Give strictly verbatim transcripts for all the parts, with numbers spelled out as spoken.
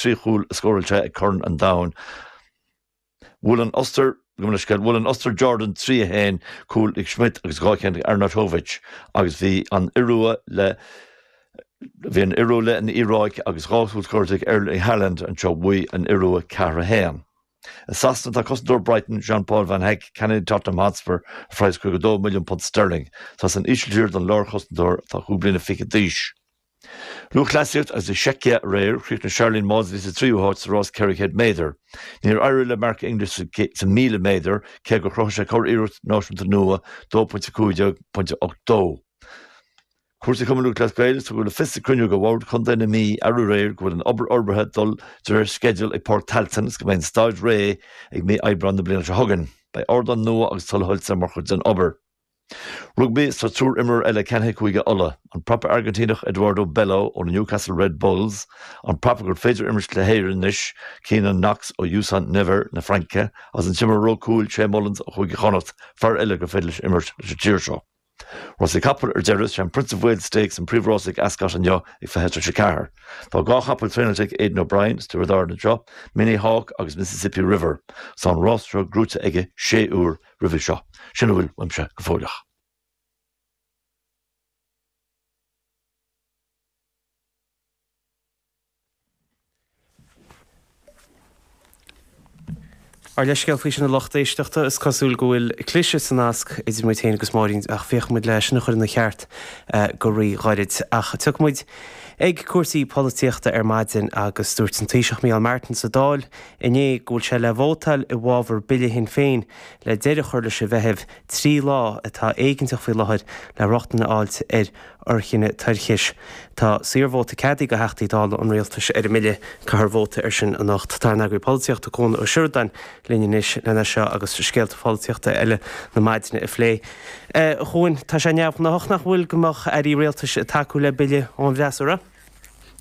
trí chúl a scóráil sé ag Corn an Domhain. Bhuail an Ostair bhuail an Ostair Jordan trí a haon, cúl ag Schmidt agus dhá cheann ag Arnautovic agus bhí an Iorua le bhí an Iorua le an Iaráic agus dhá chúl scóráilte ag Erling Haaland anseo bhuaigh an Iorua ceathair a haon. I Sasana tá cosantóir Brighton Jean-Paul Van Hecke ceannaithe Tottenham Hotspur ar phraghas caoga dó milliún punt sterling. Tá san Ísiltír don lárchosantóir atá cúig bliana fichead d'aois. Lúthchleasaíocht agus i Seicia aréir, chríochnaigh Sharlene Mawdsley sa tríú háit sa rás ceithre chéad méadar. Níor éirigh le Mark English sa míle méadar, cé gur chruthaigh sé curiarracht náisiúnta nua, dó pointe cúig déag pointe ocht dó. Cúrsaí Chumann Lúthchleas Gael, tugadh le fios ag cruinniú de Bhord Chontae na Mí arú aréir go bhfuil an obair fhorbartha ag dul de réir sceidil ag Páirc Tailteann agus go mbeidh an staid réidh ag mí Aibreán na bliana seo chugainn. Beidh ardán nua agus tuilleadh soilse mar chuid den obair. Rugbaí is tá triúr imreoir eile ceannaithe ag Cúige Uladh, an prapa Airgintíneach Eduardo Bello ó na Newcastle Red Bulls, an prapa gur féidir imirt le hÉirinn anois, Keynan Knox ó U S Nevers na Fraince, agus an t-imreoir ró cúil Shea Mullins ó Chúige Chonnacht, fear eile gur féidir leis imirt leis an tír seo. Rásaí capall ar deireadh, sé an Prince of Wales Stakes an príomhrása ag Ascot inniu ag fiche tar éis a ceathair. Tá dhá chapall traenáilte ag Aidan O'Brien as Tiobraid Árann anseo, Minnie Hawk agus Mississippi River. Tá an rás seo gnóthaithe aige sé uair roimhe seo. Sin a bhfuil uaimse go fóilleach. Ár leithscéal faoi sin a lucht éisteachta, is cosúil go bhfuil cliseadh sa nasc idir muid féin agus Máirín ach féachfaidh muid le sin a chur ina cheart go ríghairid. Ach tiocfaidh muid ag cúrsaí polaitíochta ar maidin agus dúirt an Taoiseach Micheál Martin sa Dáil inné go bhfuil sé le vótáil i bhfabhar bille Shinn Féin le deireadh a chur leis an bhfeitheamh trí lá atá éigeantach faoi láthair le rochtain a fháilt ar fhoirceannadh toirchis. Tá saorvóta ceadaithe do Theachtaí Dála an Rialtais ar an mbille. Caithfear vóta air sin anocht. Tá ár n-eagraí polaitíochta Cuan Ó Seireadáin linn anois lena seo agus scéalta polaitíochta eile na maidine a phlé. A Chuain, tá sé neamhghnách nach bhfuil go mbeadh airí rialtais ag tacú le bille ón bhfreasúra?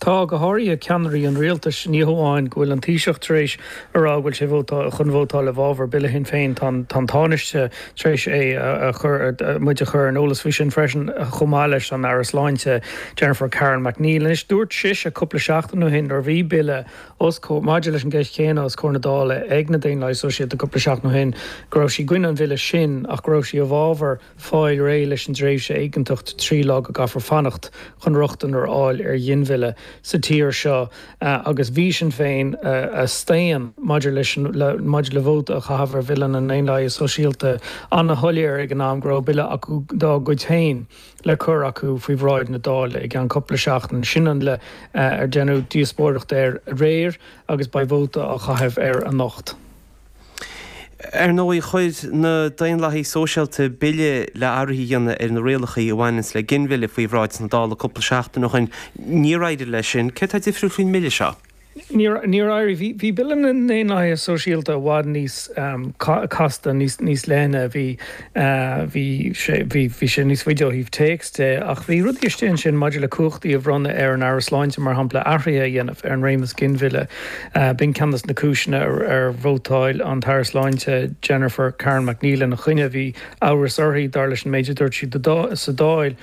Tá, go háirithe ceannairí an rialtais. Ní hamháin go bhfuil an Taoiseach tar éis a rá go bhfuil sé chun vótáil i bhfabhar Bille Shinn Féin, tá an Tánaiste tar éis é a chur, muid a chur ar an eolas faoi sin freisin, chomh maith leis an Aire Sláinte Jennifer Carroll MacNeill. Anois, dúirt sise cúpla seachtain ó shin nuair a bhí bille os comhair, maidir leis an gceist chéanna os comhair na Dála ag na Daonlathaigh Sóisialta cúpla seachtain ó shin go raibh sí i gcoinne an bhille sin ach go raibh sí i bhfabhar fáil réidh leis an dtréimhse éigeantach trí lá go gcaithfear fanacht chun rochtain ar fháil ar ghinmhilleadh sa tír seo agus bhí Sinn Féin a staon maidir leis an maidir le vóta a chaitheamh ar Bhille na nDaonlathaithe Sóisialta an-shoiléir ag an am go raibh bille acu dá gcuid féin le cur acu faoi bhráid na Dála i gceann cúpla seachtain. Sin an bille ar deineadh díospóireacht air aréir agus beidh vóta á chaitheamh air anocht. Ar ndóigh, chuir na Daonlathaigh Sóisialta bille le athruithe a dhéanamh ar na rialacha a bhaineanns le ginmhilleadh faoi bhráid na Dála cúpla seachtain ó shin. Níor éirigh leis sin. Céard atá difriúil faoin mbille seo? Níor éirigh. Bhí Bille na nDaonlathaithe Sóisialta i bhfad níos casta, níos leithne. Bhí bhí sé níos faide ó thaobh téacs de ach bhí rudaí istigh ansin maidir le cumhachtaí a bhronnadh ar an Aire Sláinte, mar shampla, athruithe a dhéanamh ar an réimeas ginmhilleadh. B'in ceann de na cúiseanna ar vótáil an tAire Sláinte Jennifer Carroll MacNeill ina choinne. Bhí amhras uirthi, dar leis an méid a dúirt sí sa Dáil,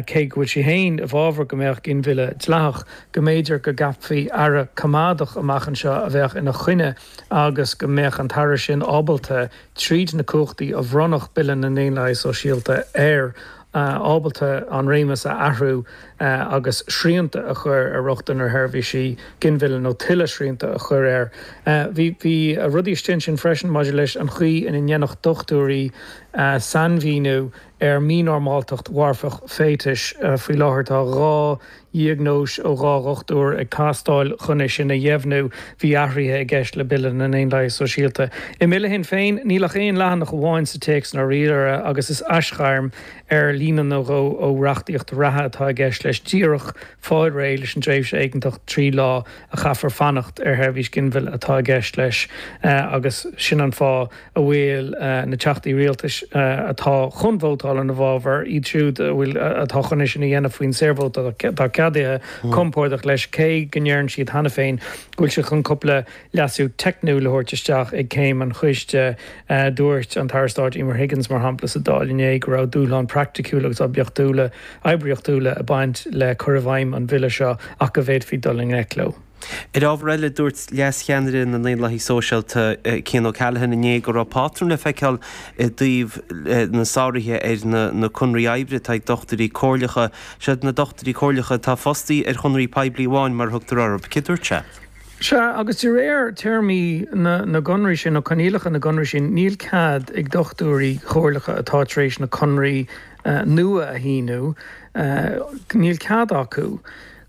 cé go bhfuil sí féin i bhfabhar go mbeadh ginmhilleadh dleathach, go mb'fhéidir go gceapfaí aire coimeádach amach anseo a bheadh ina choinne agus go mbeadh an t-aire sin ábalta, tríd na cumhachtaí a bhronnfadh Bille na nDaonlathaithe Sóisialta air, ábalta an réimeas a athrú agus srianta a chur ar rochtain ar sheirbhísí ginmhilleadh nó tuilleadh srianta a chur air. Bhí bhí rudaí istigh ansin freisin maidir leis an chaoi ina ndéanfadh dochtúirí sainmhíniú ar mhínormáltacht mharfach féatais. Faoi láthair tá dhá dhiagnóis ó dhá dhochtúir ag teastáil chun é sin a dheimhniú. Bhí athruithe i gceist le Bille na nDaonlathaithe Sóisialta. I mBille Shinn Féin, níl ach aon leathanach amháin sa téacs i ndáiríre agus is aisghairm ar líne nó dhó ó reachtaíocht reatha atá i gceist leis, díreach fáil réidh leis an dtréimhse éigeantach trí lá a chaithfear fanacht ar sheirbhís ginmhilleadh atá i gceist leis agus sin an fáth a bhfuil na teachtaí rialtais atá chun vótáil ina bhfabhar, iad siúd a bhfuil atá chun é sin a dhéanamh faoin saorvóta atá ceadaithe, compordach leis, cé go ndeireann siad cheana féin go bhfuil siad chun cúpla leasú teicniúil a thabhairt isteach ag céim an choiste. Dúirt an tAire Stáit Emer Higgins, mar shampla, sa Dáil inné go raibh dúshláin praiticiúla agus oibiachtúla oibríochtúla ag baint le cur i bhfeidhm an bhille seo ach go bhféadfaí dul i ngleic leo. Ar ábhar eile, dúirt leascheannaire na nDaonlathaithe Sóisialta Cian O'Callaghan inné go raibh pátrún le feiceáil i dtaobh na sáruithe ar na conraí oibre atá ag dochtúirí comhairleacha. Siad na dochtúirí comhairleacha atá fostaí ar chonraí poiblí amháin mar a thugtar orthu. Céard a dúirt sé? Sea, agus de réir téarmaí na gconraí sin, nó coinníollacha na gconraí sin, níl cead ag dochtúirí comhairleacha atá tar éis na conraí nua a shíniú, níl cead acu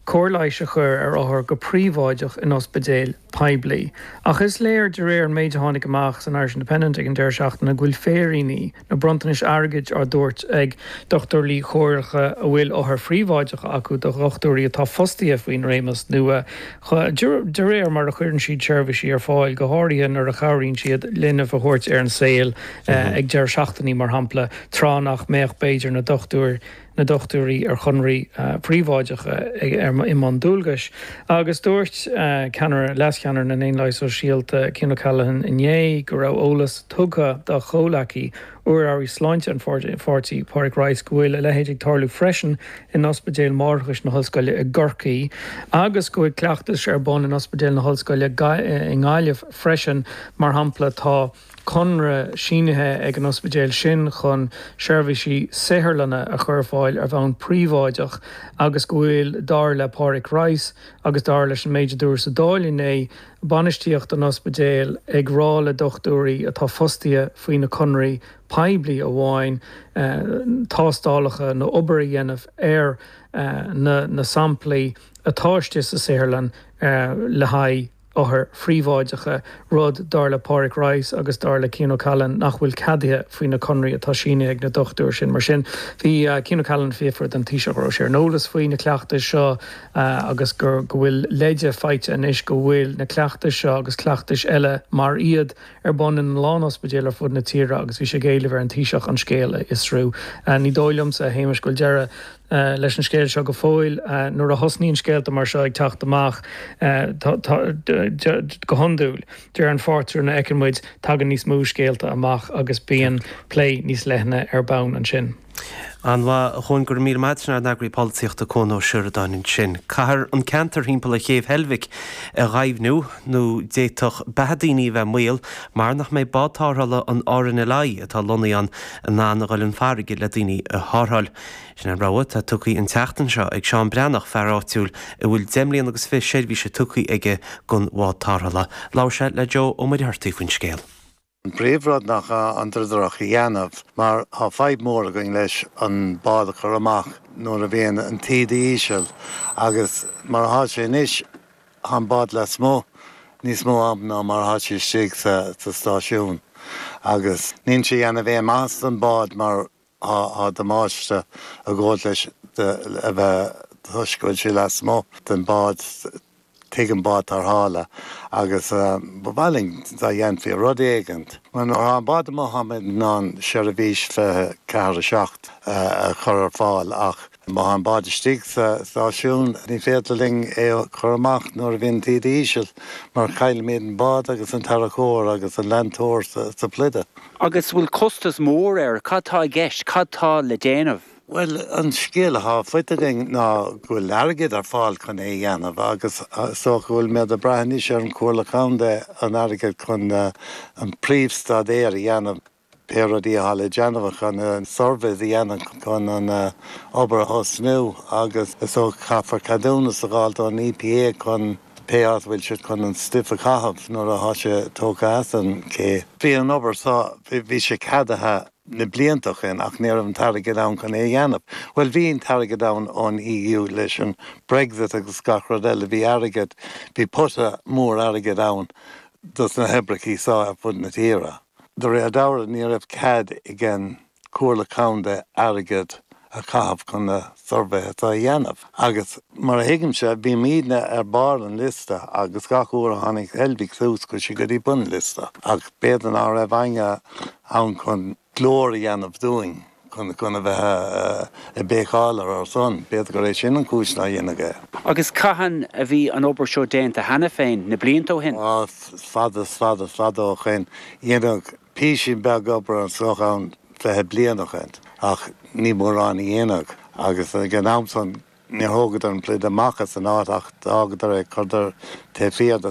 cóir leighis a chur ar othair go príobháideach in ospidéil poiblí. Ach is léir de réir an méid a tháinig amach san Irish Independent ag an deireadh seachtaine go bhfuil féiríní nó bronntanais airgid á dtabhairt ag dochtúirí comhairleacha a bhfuil othair phríobháideacha acu do dhochtúirí atá fostaithe faoin réimeas nua de réir mar a chuireann siad seirbhísí ar fáil, go háirithe nuair a chabhraíonn siad linbh a thabhairt ar an saol ag deireadh seachtainí, mar shampla, tráth nach mbeadh b'fhéidir na dochtúir na dochtúirí ar chonraí príobháideacha i mbun dualgais. Agus dúirt ceannaire, leascheannaire na nDaonlathaithe Sóisialta, Cian O'Callaghan inné go raibh eolas tugtha dá chomhleacaí, urlabhraí sláinte an pháirtí, Pádraig Rice, go bhfuil a leithéid ag tarlú freisin in Ospidéal Máithreachais na hOllscoile i gCorcaigh agus go bhfuil cleachtais ar bun in Ospidéal na hOllscoile i nGaillimh freisin. Mar shampla, tá. conradh sínithe ag an ospidéal sin chun seirbhísí saotharlainne a chur ar fáil ar bhonn príobháideach agus go bhfuil, dar le Pádraig Rice agus dar leis an méid a dúradh sa Dáil inné, bainistíocht an ospidéil ag rá le dochtúirí atá fostaithe faoi na conraí poiblí amháin tástálacha nó obair a dhéanamh ar na samplaí atá istigh sa saotharlann le haghaidh othair phríobháideacha, rud, dar le Pádraig Rice agus dar le Cian O'Callaghan, nach bhfuil ceadaithe faoi na conraí atá sínithe ag na dochtúirí sin. Mar sin, bhí Cian O'Callaghan ag fiafraí den Taoiseach an raibh sé ar an eolas faoi na cleachtais seo agus go bhfuil leide faighte anois go bhfuil na cleachtais seo agus cleachtais eile mar iad ar bun in a lán ospidéal ar fud na tíre agus bhí sé ag éileamh ar an Taoiseach an scéal a fhiosrú. Ní dóigh liomsa, a Shéamais, go bhfuil deireadh leis an scéal seo go fóill. Nuair a thosnaíonn scéalta mar seo ag teacht amach, go hiondúil, de réir an phátrúin a fheiceann muid, tagann níos mó scéalta amach agus bíonn plé níos leithne ar bun ansin. An-mhaith, a Chuain, go raibh míle maith agat. Sin ár n-eagraí polaitíochta Cuan Ó Seireadáin ansin. Caithfear an ceantar thimpeall ar chéibh Heilbhic a ghaibhniú nó d'fhéadfadh beatha daoine a bheith i mbaol mar nach mbeidh bád tarrthála an RNLI atá lonnaithe ann in ann a dhul chun farraige le daoine a tharrtháil. Sin an rabhadh atá tugtha an tseachtain seo ag Seán Breathnach, fear áitiúil a bhfuil deich mbliana agus fiche seirbhíse tugtha aige don bhád tarrthála. Labhair sé le Joe Ó Muircheartaigh faoin scéal. An príomhrud ná an dríodar a dhéanamh mar tá fadhb mór againn leis an bád a chur amach nuair a bhíonn an taoide íseal agus mar atá sé anois tá an bád lasmuigh níos mó am ná mar atá sé istigh sa stáisiún agus níl sé ag déanamh aon maitheas don bád mar Tá damáiste ag gabháil leis a bheith toisc go bhfuil sé lasmuigh den bád, tigh an bád tarrthála agus ba mhaith linn dá dhéanfaí rud éigint. Mar nuair atá an bád amuigh táimid in ann seirbhís fiche ceathair a seacht a chur ar fáil ach má tá an bád istigh sa stáisiún ní féidir linn é a chur amach nuair a bhíonn an taoide íseal mar caillimid an bád agus an tarracóir agus an leantóir sa bpluide. Agus bhfuil costas mór air? Cad tá i gceist? Cad tá le déanamh? Bhuel, an scéal atá faighte againn ná go bhfuil airgead ar fáil chun é a dhéanamh agus is dócha go bhfuil muid ag brath anois ar an Chomhairle Contae an airgead chun an príomhstaidéar a dhéanamh, pé rudaí atá le déanamh chun an surveys a dhéanamh chun an obair a thosnú agus is dócha caithfear ceadúnas a dh'fháilt ón EPA chun pé áit a bhfuil siad chun an stuif a chaitheamh nuair atá sé tógtha as an ché. Bhí an obair seo, bhí sé ceadaithe na blianta ó shin ach ní raibh an t-airgead ann chun é a dhéanamh. Bhuel bhí an t-airgead ann ón EU leis an Brexit agus gach rud eile, bhí airgead, bhí pota mór airgid ann dos na hoibreachaí seo ar fud na tíre. De réir dealraimh ní raibh cead ag an Chomhairle Contae airgead a chaitheamh chun na suirbhéithe seo a dhéanamh. Agus mar a thuigimse, bhímidne ar barr an liosta agus gach uair a tháinig Heilbhic suas chuaigh sé go dtí bun an liosta. Ach b'fhéidir ná raibh éinne ann chun glór a dhéanamh dúinn, chun chun a bheith ag béiceáil ar ár son. B'fhéidir gur é sin an chúis nár deineadh é. Agus cathain a bhí an obair seo déanta cheana féin, na blianta ó shin? Á, fada is fada is fada ó shin. Deineadh písín beag obair anseo ann fiche bliain ó shin, ach ní mórán a deineadh, agus ag an am san Níor thógadar an pluid amach as an áit ach d'fhágadar é, chuireadar taobh thiar de.